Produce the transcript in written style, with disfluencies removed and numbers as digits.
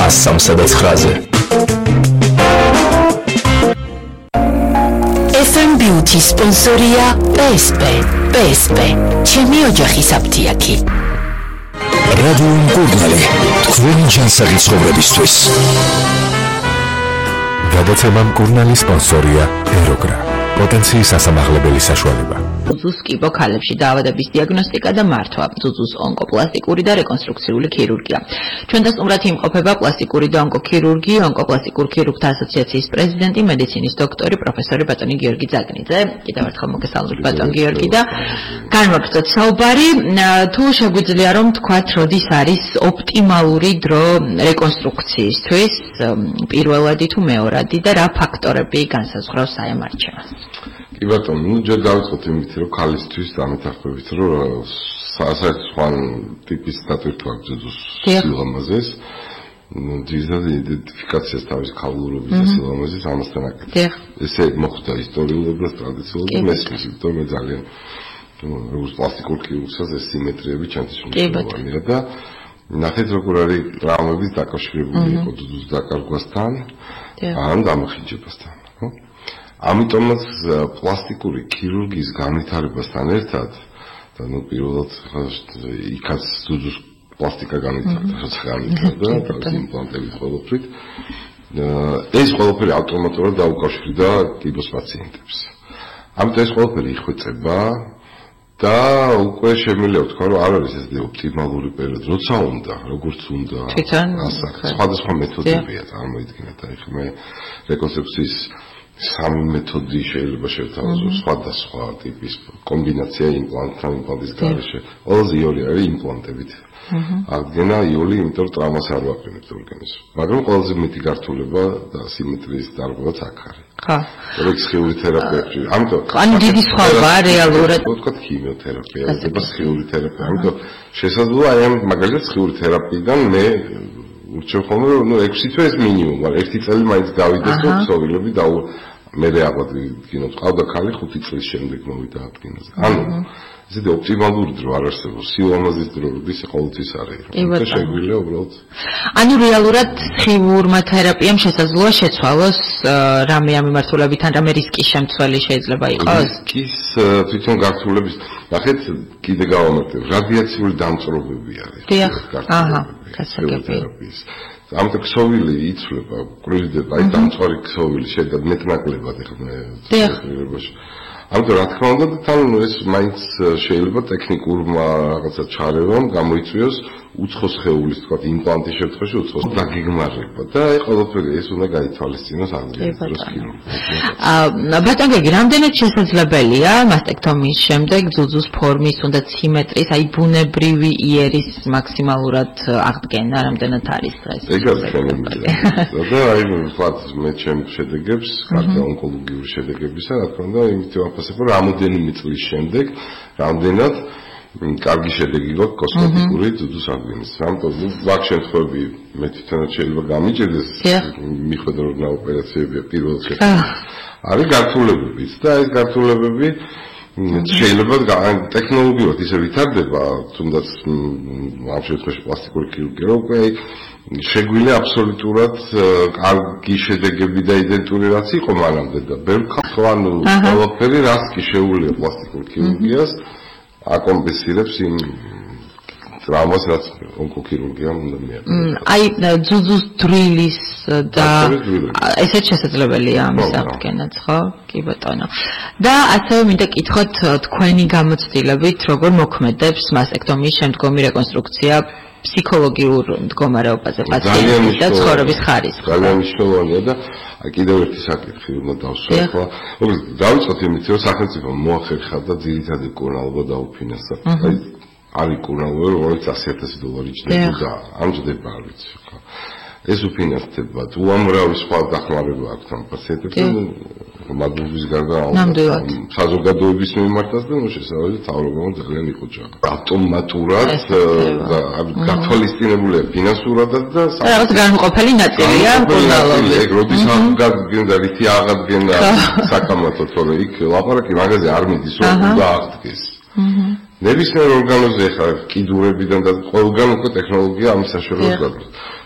103-ზე. FM Beauty სპონსორია PSP. ჩემი ოჯახის აფთიაქი. რადიო მკურნალი, თქვენი ჯანსაღი ცხოვრებისთვის. გადაცემა მკურნალი სპონსორია ეროგრა. პოტენციის ასამაღლებელი საშუალება. ზუზუს კიბო ქალებში დაავადების დიაგნოსტიკა და მართვა, ზუზუს ონკოპლასტიკური და რეკონსტრუქციული ქირურგია. ჩვენ დასტუმრად იმყოფება პლასტიკური და ონკოქირურგი, ონკოპლასტიკურ ქირურგთა ასოციაციის პრეზიდენტი, მედიცინის დოქტორი, პროფესორი ბატონი გიორგი ძაგნიძე. კიდევ ერთხელ მოგესალმებით ბატონ გიორგი და განვაგრძოთ საუბარი. თუ შეგვიძლია რომ თქვათ, როდის არის ოპტიმალური დრო რეკონსტრუქციისთვის, პირველადი თუ მეორადი და რა ფაქტორები განსაზღვრავს აი ამ არჩევას? კი ბატონო, ჯერ დავიწყოთ იმით, რომ ქალისთვის დამეთანხმებით, რომ საერთო ტიპის დატვირთვა ზუზუს სილამაზეს, ძირითადად იდენტიფიკაციას თავის ქალურობის და სილამაზის ამასთან აკეთებს. ესე მოხდა ისტორიულად, ტრადიციულად, მესმის, იმიტომ მე ძალიან როგორც პლასტიკურ ქირურგსაც ეს სიმეტრიები ჩემთვის მნიშვნელოვანია და ნახეთ როგორ არის ტრავმების დაკავშირებული იყო ზუზუს დაკარგვასთან ან დამახინჯებასთან, ხო? ამიტომაც პლასტიკური ქირურგიის განვითარებასთან ერთად და პირველად იქაც ზუზუს პლასტიკა განვითარდა, როცა განვითარდა და იმპლანტები ყოველთვის ეს ყველაფერი ავტომატურად დაუკავშირდა კიბოს პაციენტებს. ამიტომ ეს ყველაფერი იხვეწება და უკვე შემიძლია ვთქვა, რომ არ არის ეს ოპტიმალური პერიოდი, როცა უნდა, როგორც უნდა. სხვადასხვა მეთოდებია წარმოიდგინეთ, აი ხე მე რეკონსტრუქციის სამი მეთოდი შეიძლება შევთავაზო, სხვადასხვა ტიპის კომბინაცია იმპლანტთან, იმპლანტის გარეშე. ყველაზე იოლი არის იმპლანტებით. აღდგენა იოლი, იმიტომ რომ ტრავმას არ ვაყენებთ ორგანიზმს. მაგრამ ყველაზე მეტი გართულება და სიმეტრიის დარღვევაც აქ არის. ხო. სხეული თერაპია. ამიტომ ანუ დიდი სხვაობა რეალურად ვთქვათ ქიმიოთერაპია და სხეული თერაპია. ამიტომ შესაძლოა აი ამ მაგალითად სხეული თერაპიიდან მე ურჩევ ხოლმე რომ 6 თვე ეს მინიმუმ, მაგრამ 1 წელი მაინც გავიდეს რომ ქსოვილები და მე აღადგინოთ. ყავდა ქალი 5 წლის შემდეგ მოვიდა აღდგენაზე. ანუ ესეთი ოპტიმალური დრო არ არსებობს. სილამაზის დრო როდის ყოველთვის არის. და შეგვიძლია უბრალოდ ანუ რეალურად სხიურმა თერაპიამ შესაძლოა შეცვალოს რამე ამ მიმართულებით ან რამე რისკის შემცველი შეიძლება იყოს? რისკის თვითონ გართულების ნახეთ კიდე გავამართლებ რადიაციული დამწრობები არის. თერაპიის. ამიტომ ქსოვილი იცვლება, კვირდება, აი დამწვარი ქსოვილი შედგა მეტნაკლებად ეხლა. ამიტომ რა თქმა უნდა თან ეს მაინც შეიძლება ტექნიკურმა რაღაცა ჩარევამ გამოიწვიოს უცხო სხეულის თქვა იმპლანტის შემთხვევაში უცხო დაგეგმარება და აი ყველაფერი ეს უნდა გაითვალისწინოს აღდგენის ქირურგიას. ბატონ გიორგი, რამდენად შესაძლებელია მასტექტომიის შემდეგ ზუზუს ფორმის უნდა სიმეტრიის, აი ბუნებრივი იერის მაქსიმალურად აღდგენა, რამდენად არის ეს? ეგ არის შემიძლია. და აი ვთქვათ მე ჩემ შედეგებს, კარგი ონკოლოგიური შედეგებისა, რა თქმა უნდა, იმით ვაფასებ, რომ რამოდენიმე წლის შემდეგ რამდენად კარგი შედეგი გვაქვს კოსმეტიკური ზუზუს აღდგენის. ამიტომ ვაკ შემთხვევები მე თვითონაც შეიძლება გამიჭირდეს მიხვედრა რომ ოპერაციებია პირველ შედეგში. არის გართულებებიც და ეს გართულებები შეიძლება ტექნოლოგიურად ისე ვითარდება, თუნდაც ამ შემთხვევაში პლასტიკური ქირურგია, რომ უკვე შეგვიძლია აბსოლუტურად კარგი შედეგები და იდენტური რაც იყო მანამდე და ბევრ ანუ ყველაფერი რაც კი შეუძლია პლასტიკურ ქირურგიას აკომპენსირებს იმ ტრავმას რაც ონკოქირურგიამ უნდა მიაყენოს. აი ზუზუს დრილის და ესეც შესაძლებელია ამის აღდგენაც, ხო? კი ბატონო. და ასევე მინდა კითხოთ თქვენი გამოცდილებით როგორ მოქმედებს მასტექტომიის შემდგომი რეკონსტრუქცია ფსიქოლოგიურ მდგომარეობაზე პაციენტის და ცხოვრების ხარისხს. ძალიან მნიშვნელოვანია და კიდევ ერთი საკითხი უნდა დავსვათ. დავიწყოთ იმით, რომ სახელმწიფო მოახერხა და ძირითადი კურნალობა დაუფინანსა. არის კურნალობა, რომელიც $100,000 იჭდება და ამჯდება არ ვიცი ხო. ეს უფინანსდება. უამრავი სხვა დახმარება აქვს ამ პაციენტებთან. მადლობის გარდა საზოგადოების მიმართაც და შესაძლოა თავრობამ ძალიან იყოჭა. ავტომატურად გათვალისწინებულია ფინანსურადაც და რაღაც განუყოფელი ნაწილია კურნალობის. ეგ როდის აღდგენდა რითი აღდგენდა საკამათო თორე იქ ლაპარაკი მაგაზე არ მიდის რომ უნდა აღდგეს. ნებისმიერ ორგანოზე ხარ კიდურებიდან და ყველგან უკვე ტექნოლოგია ამის საშუალებას გაქვს.